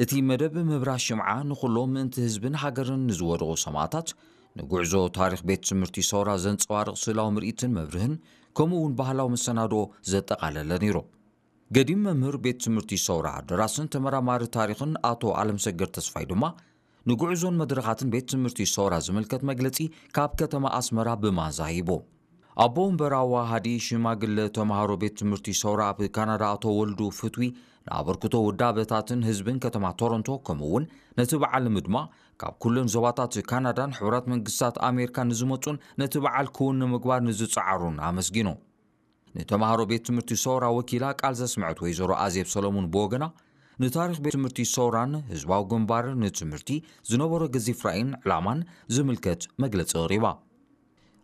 እቲ መደብ ምብራህ ሽምዓ ንኹሎም ምእንቲ ህዝብን ሃገርን ንዝወደቑ ሰማእታት፣ ንጉዕዞ ታሪኽ ቤት ትምህርቲ ሰውራ ዘንጸባርቕ ስእላዊ ምርኢትን መብርህን፣ ከምኡ እውን ባህላዊ መሰናዶ ዘጠቓለለ ነይሩ። ገዲም መምህር ቤት ትምህርቲ ሰውራ፣ ደራስን ተመራማሪ ታሪኽን ኣቶ ኣለምሰገድ ተስፋይ ድማ፣ ንጉዕዞን መድረኻትን ቤት ትምህርቲ ሰውራ ዝምልከት መግለጺ ካብ ከተማ ኣስመራ ብማንዛ ሂቡ። ኣቦ ወንበር ኣዋሃዲ ሽማግለ ተምሃሮ ቤት ትምህርቲ ሰውራ ኣብ ካናዳ ኣቶ ወልዱ ፍትዊ፣ ንኣበርክቶ ውዳበታትን ህዝብን ከተማ ቶሮንቶ፣ ከምኡ እውን ነቲ በዓል ንምድማቕ ካብ ኩለን ዞባታት ካናዳን ሕቡራት መንግስታት ኣሜሪካን ንዝመጹን ነቲ በዓል ክውን ንምግባር ንዝጸዓሩን ኣመስጊኑ። ንተምሃሮ ቤት ትምህርቲ ሰውራ ወኪላ ቃል ዘስምዐት ወይዘሮ ኣዜብ ሰለሙን ብወገና፣ ንታሪኽ ቤት ትምህርቲ ሰውራን ህዝባዊ ግንባር ንትምህርቲ ዝነበሮ ገዚፍ ራእይን ዕላማን ዝምልከት መግለጺ ኣቕሪባ።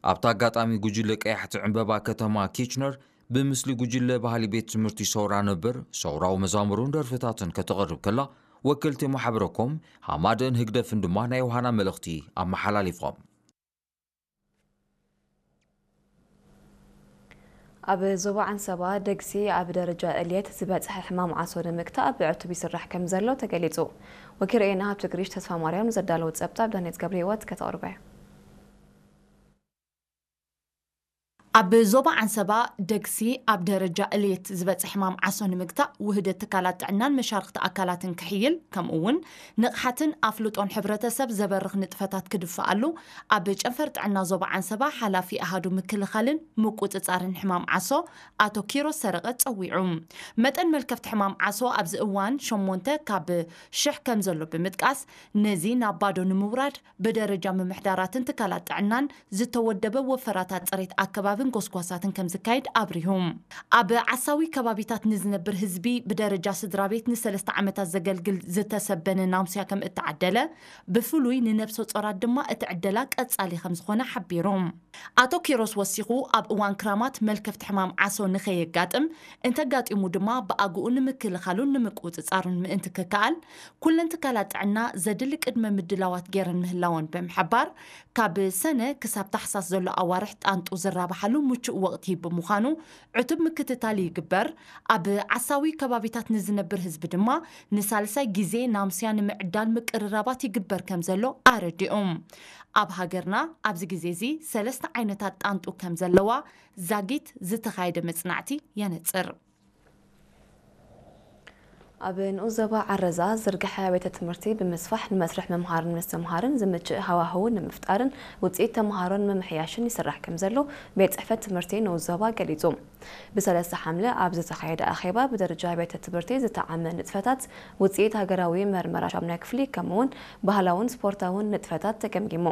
ኣብቲ ኣጋጣሚ ጉጅለ ቀያሕቲ ዕምበባ ከተማ ኪችነር ብምስሊ ጉጅለ ባህሊ ቤት ትምህርቲ ሰውራ ነበር፣ ሰውራዊ መዛሙሩን ደርፍታትን ከተቕርብ ከላ፣ ወከልቲ ማሕበረኮም ሃማደን ህግደፍን ድማ ናይ ዮሃና መልእኽቲ ኣመሓላሊፎም። ኣብ ዞባ ዓንሰባ ደግሲ ኣብ ደረጃ እልየት ዝበጽሐ ሕማም ዓሶ ንምግታእ ብዕቱብ ይስራሕ ከም ዘሎ ተገሊጹ። ወኪረኤና ሃብተግሪሽ ተስፋ ማርያም ዘዳለወ ጸብጻብ ዳንኤት ገብረ ህይወት ከተቕርበ። ኣብ ዞባ ዓንሰባ ደግሲ ኣብ ደረጃ እልየት ዝበጽሐ ሕማም ዓሶ ንምግታእ ውህደት ትካላት ጥዕናን መሻርኽቲ ኣካላትን ክሕይል፣ ከምኡ እውን ንቕሓትን ኣፍልጦን ሕብረተሰብ ዘበርኽ ንጥፈታት ክድፈኣሉ ኣብ ጨንፈር ጥዕና ዞባ ዓንሰባ ሓላፊ ኣሃዱ ምክልኻልን ምቁጽጻርን ሕማም ዓሶ ኣቶ ኪሮስ ሰረቐ ጸዊዑ። መጠን መልከፍቲ ሕማም ዓሶ ኣብዚ እዋን ሸሞንተ ካብ ሽሕ ከም ዘሎ ብምጥቃስ፣ ነዚ ናብ ባዶ ንምውራድ ብደረጃ ምምሕዳራትን ትካላት ጥዕናን ዝተወደበ ወፈራታት ጽሬት ኣከባብን ጎስጓሳትን ከም ዝካየድ ኣብሪሁ። ኣብ ዓሳዊ ከባቢታት ንዝነብር ህዝቢ ብደረጃ ስድራ ቤት ንሰለስተ ዓመታት ዘገልግል ዝተሰበነ ናምስያ ከም እተዓደለ፣ ብፍሉይ ንነብሰ ጾራት ድማ እቲ ዕደላ ቀጻሊ ከም ዝኾነ ሓቢሩ። ኣቶ ኪሮስ ወሲኹ፣ ኣብ እዋን ክራማት መልከፍቲ ሕማም ዓሶ ንኸየጋጥም፣ እንተጋጢሙ ድማ ብኣግኡ ንምክልኻሉን ንምቁጽጻሩን ምእንቲ ክከኣል፣ ኩለን ትካላት ጥዕና ዘድሊ ቅድመ ምድላዋት ገይረን ምህላወን ብምሕባር፣ ካብ ሰነ ክሳብ ታሕሳስ ዘሎ ኣዋርሕ ጣንጡ ዝራብሓሉ ምቹእ ወቕቲ ብምዃኑ ዕቱብ ምክትታል ይግበር። ኣብ ዓሳዊ ከባቢታት ንዝነብር ህዝቢ ድማ ንሳልሳይ ግዜ ናምስያ ንምዕዳል ምቅርራባት ይግበር ከም ዘሎ ኣረዲኦም። ኣብ ሃገርና ኣብዚ ግዜ እዚ ሰለስተ ዓይነታት ጣንጡ ከም ዘለዋ ዛጊት ዝተኻየደ መጽናዕቲ የነጽር። ኣብ ንኡስ ዞባ ዓረዛ ዝርግሐ ቤተ ትምህርቲ ብምስፋሕ ንመስርሕ ምምሃርን ምስትምሃርን ዝምችእ ሃዋህው ንምፍጣርን ውፅኢት ተምሃሮ ንምምሕያሽን ይስራሕ ከም ዘሎ ቤት ፅሕፈት ትምህርቲ ንኡስ ዞባ ገሊፁ። ብሰለስተ ሓምለ ኣብ ዝተኻየደ ኣኼባ ብደረጃ ቤተ ትምህርቲ ዝተዓመ ንጥፈታት ውፅኢት ሃገራዊ መርመራ ሻምናይ ክፍሊ ከምኡውን ባህላውን ስፖርታውን ንጥፈታት ተገምጊሙ።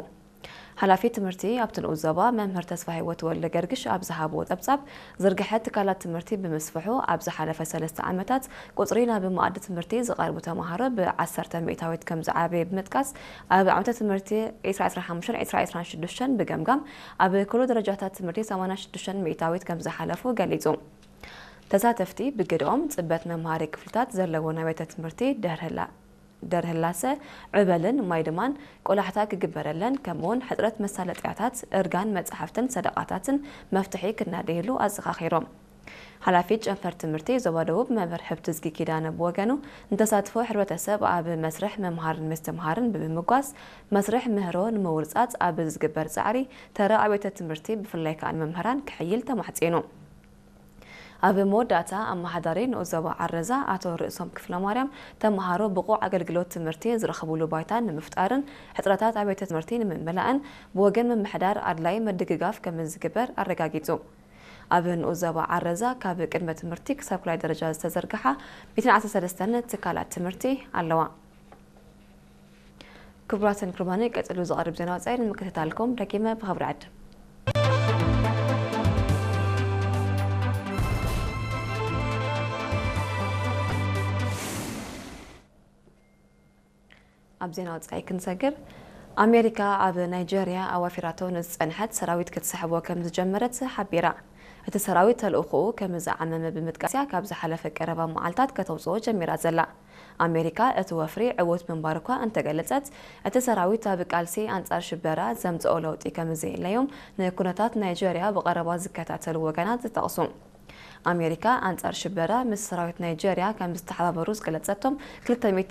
ሓላፊ ትምህርቲ ኣብቲ ንኡስ ዞባ መምህር ተስፋ ህይወት ወልደ ገርግሽ ኣብ ዝሃብዎ ጸብጻብ፣ ዝርግሐ ትካላት ትምህርቲ ብምስፍሑ ኣብ ዝሓለፈ ሰለስተ ዓመታት ቁጽሪ ናብ መኣዲ ትምህርቲ ዝቐርቡ ተምሃሮ ብዓሰርተ ሚእታዊት ከም ዝዓበየ ብምጥቃስ፣ ኣብ ዓመተ ትምህርቲ ዕስራ ዕስራን ሓሙሽተን ዕስራ ዕስራን ሽዱሽተን ብገምጋም ኣብ ኩሉ ደረጃታት ትምህርቲ ሰማንያ ሽዱሽተ ሚእታዊት ከም ዝሓለፉ ገሊጹ። ተሳተፍቲ ብግደኦም፣ ጽበት መምሃሪ ክፍልታት ዘለዎ ናይ ቤተ ትምህርቲ ደርህላ ደርህላሰ፣ ዕበልን ማይ ድማን ቆላሕታ ክግበረለን፣ ከምኡውን ሕፅረት መሳለጥያታት፣ እርጋን መፅሓፍትን ሰደቓታትን መፍትሒ ክናደየሉ ኣዘኻኺሮም። ሓላፊት ጨንፈር ትምህርቲ ዞባ ደቡብ መምህር ሕብትዝጊ ኪዳነ ብወገኑ፣ ንተሳትፎ ሕብረተሰብ ኣብ መስርሕ ምምሃርን ምስትምሃርን ብምምጓስ፣ መስርሕ ምህሮ ንምውርፃፅ ኣብ ዝግበር ፃዕሪ ተራ ኣብያተ ትምህርቲ ብፍላይ ከዓ ንመምህራን ክሕይል ተማሕፂኑ። ኣብ መወዳእታ ኣመሓዳሪ ንኡስ ዞባ ዓረዛ ኣቶ ርእሶም ክፍለማርያም፣ ተምሃሮ ብቑዕ ኣገልግሎት ትምህርቲ ዝረኽብሉ ባይታ ንምፍጣርን ሕጽረታት ኣብያተ ትምህርቲ ንምምላእን ብወገን ምምሕዳር ኣድላይ ምድግጋፍ ከምዝግበር ኣረጋጊጹ። ኣብ ንኡስ ዞባ ዓረዛ ካብ ቅድመ ትምህርቲ ክሳብ ካልኣይ ደረጃ ዝተዘርግሓ ሚእትን ዓሰርተ ሰለስተን ትካላት ትምህርቲ ኣለዋ። ክቡራትን ክቡራንን፣ ቀጺሉ ዝቐርብ ዜና ወጻኢ ንምክትታልኩም ደጊመ ብኽብሪ ዕድም። ኣብ ዜና ወጻኢ ክንሰግር፣ ኣሜሪካ ኣብ ናይጀርያ ኣዋፊራቶ ንዝጸንሐት ሰራዊት ክትስሕቦ ከም ዝጀመረት ሓቢራ። እቲ ሰራዊት ተልእኾኡ ከም ዝዓመመ ብምጥቃስ እያ ካብ ዝሓለፈ ቀረባ መዓልታት ከተውጽኦ ጀሚራ ዘላ። ኣሜሪካ እቲ ወፍሪ ዕዉት ምንባሩ እኳ እንተገለጸት፣ እቲ ሰራዊት ኣብ ቃልሲ ኣንጻር ሽበራ ዘምጽኦ ለውጢ ከም ዘየለዮም ንኩነታት ናይጀርያ ብቐረባ ዝከታተሉ ወገናት ይጠቕሱ። ኣሜሪካ ኣንጻር ሽበራ ምስ ሰራዊት ናይጀርያ ከም ዝተሓባበሩ ዝገለጸቶም ክልተ ሚእቲ